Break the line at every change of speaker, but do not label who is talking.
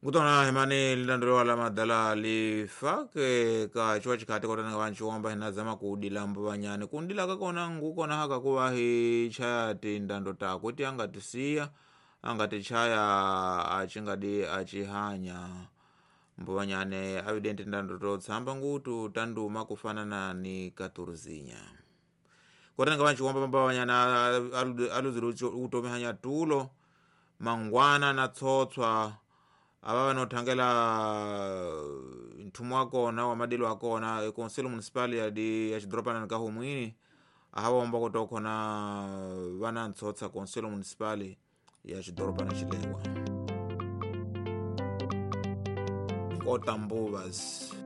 Ngutona himani lilanduliwa la madala lifake ka chiwa chikhati kotana vanchiwomba hinazama kudila mbuvanyani kundila kakona ngukona haka kuva hichaya tindando takwe ti angatisiya angatichaya achingadi achihanya mbuvanyane avidente ndando totsamba ngutu tanduma kufanana ni katurzinya kotanga vanchiwomba mbuvanyane aluzile utomihanya tulo mangwana na tsotswa ava vanothangela nthumu wakona wa madilo akona e conselho municipal ya xidoropana ka humwini ahawomba kutokhona vana ntsotsa conselho municipal ya xidoropana xilewa kota mbuvas.